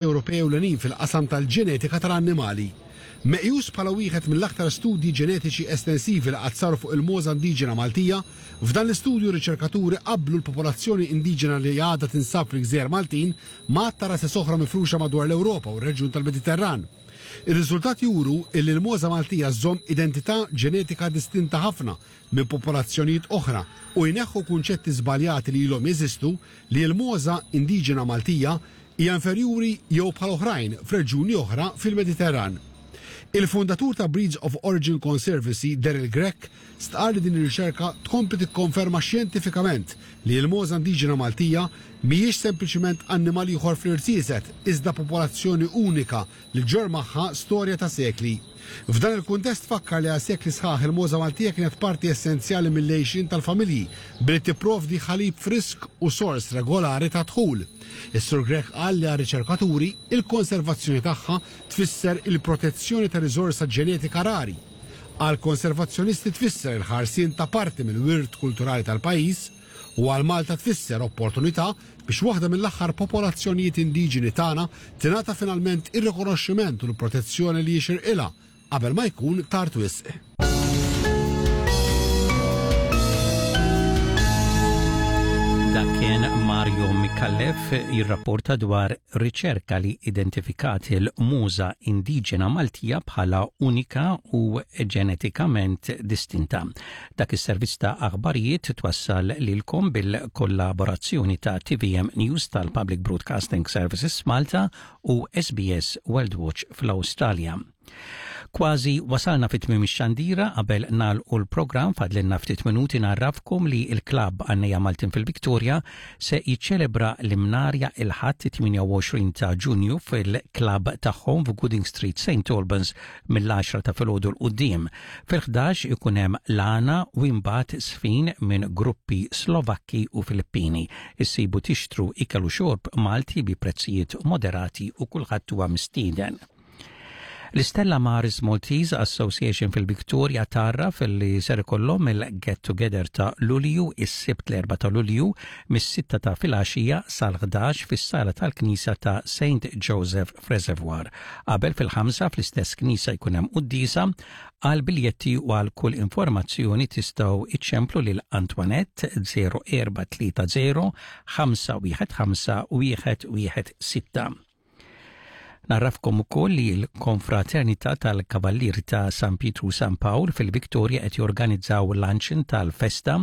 Ewropej ewlenin fil-qasam tal-ġenetika tal-annimali. Meqjus bħala wieħed mill-aktar studji ġenetiċi estensivi li qatt saru fuq il-mogħża indiġena Maltija, f'dan l-istudju r-riċerkaturi qabblu l-popolazzjoni indiġena li għadha tinsab fil-gżejjer Maltin ma' għadd ta' rases oħra mifruxa madwar l-Ewropa u r-reġjun tal-Mediterran. Ir-riżultati juru illi l-mogħża Maltija żżomm identità ġenetika distinta ħafna minn popolazzjonijiet oħra u jneħħu kunċetti żbaljati li ilhom jeżistu li l-mogħża indiġena Maltija hija inferjuri jew bħal oħrajn f'reġjuni oħra fil-Mediterran. Il-fundatur ta' Breeds of Origin Conservancy, Daryl Grech, stqarr li din ir-riċerka tkompli tikkonferma xjentifikament li l-mogħża indiġena Maltija mhijiex sempliċiment annimal ieħor fl-irziezet iżda popolazzjoni unika li ġġorr magħha storja ta' sekli. F'dan il-kuntest fakkar li għal sekli sħaħ il-mogħża Maltija kienet parti essenzjali mill-għixien tal-familji billi tipprovdi ħalib frisk u sors regolari ta' dħul. Is-Sur Grech qal li għar-riċerkaturi, il-konservazzjoni tagħha tfisser il-protezzjoni ta' riżorsa ġenetika rari. Għall-konservazzjonisti tfisser il-ħarsien ta' parti mill-wirt kulturali tal-pajjiż u għal Malta tfisser opportunità biex waħda mill-aħħar popolazzjonijiet indiġeni tagħna tingħata finalment ir-rikonoxximent u l-protezzjoni li jixirqilha qabel ma jkun tard wisq. Dak kien Mario Micallef jirrapporta dwar riċerka li identifikat il-muża indiġena Maltija bħala unika u ġenetikament distinta. Dak is-servizz ta' aħbarijiet twassal lilkom bil-kollaborazzjoni ta' TVM News tal-Public Broadcasting Services Malta u SBS World Watch fl-Awstralja. Kważi wasalna fit tmiem ix-xandira qabel nagħlqu l-programm fadlilna ftit minuti narrafkom li l-klabb Għannejja Maltin fil-Victoria se jiċċelebra l-Imnarja il-Ħadd 28 ta' Ġunju fil-klabb tagħhom f'Gooding Street St Albans mill-għaxra ta' filgħodu 'l quddiem. Fil-ħdax ikun hemm l-għana u imbagħad żfin minn gruppi Slovakki u Filippini. Issibu tixtru ikel u xorb Malti bi prezzijiet moderati u kulħadd huwa mistieden. L-Istella Maris Maltese Association fil-Victoria tgħarraf li ser ikollhom il-Get Together ta' Lulju is-Sibt l-4 ta' Lulju mis-sitta ta' filgħaxija sal-ħdax fis-sala tal-Knisja ta' Saint Joseph f'Reservoir. Qabel fil-ħamsa fl-istess knisja jkun hemm quddiesa, għal biljetti u għal kull informazzjoni tistgħu iċċemplu lil Antoinette 0430 515 116. Narrafkom ukoll li l-Konfraternità tal-Kavallieri ta' San Pietru u San Pawl fil-Victoria qed jorganizzaw luncheon tal-festa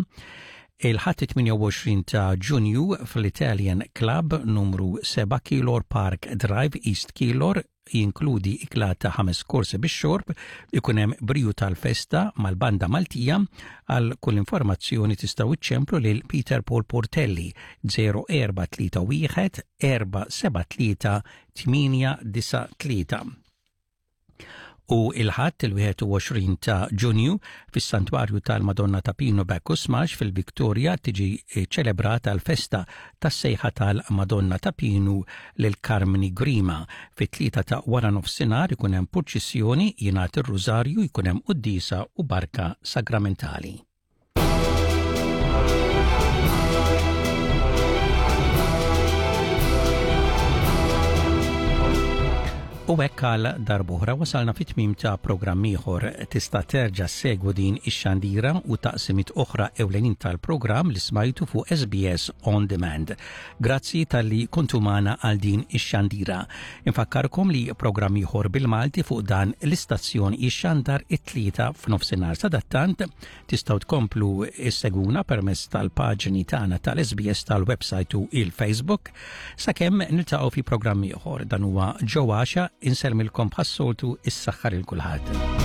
il-Ħadd 28 ta' Ġunju fl-Italian Club numru 7 Keilor Park Drive, East Keilor, jinkludi ikla ta' ħames korsi bix-xorb, ikun hemm briju tal-festa mal-banda Maltija. Għal kull informazzjoni tistgħu iċċemplu lil Peter Paul Portelli 0431 473 893. U il-Ħadd il-21 ta' Ġunju fis-Santwarju tal-Madonna ta' Pino Bacchus Marsh fil-Victoria tiġi ċelebrata l-festa tas-sejħa tal-Madonna ta' Pinu lil Karmni Grima. Fit-tlieta ta' wara nofsinhar ikun hemm purċissjoni, jingħad ir-Rużarju, jkun hemm quddiesa u barka sagramentali. U hekk għal darb'oħra wasalna fit-tmiem ta' programm ieħor. Tista' terġa' ssegwu din ix-xandira u taqsimiet oħra ewlenin tal-programm li smajtu fuq SBS On Demand. Grazzi talli kontu magħna għal din ix-xandira. Infakkarkom li programm ieħor bil-Malti fuq dan l-istazzjon jixxandar it-Tlieta f'nofsinhar. Sadattant tistgħu tkomplu issegwuna permezz tal-paġni tagħna tal-SBS tal-website u il-Facebook sakemm niltaqgħu fi programm ieħor. Dan huwa Joe Għaxa insellmilkom bħas-soltu is-saħħa lil kulħadd.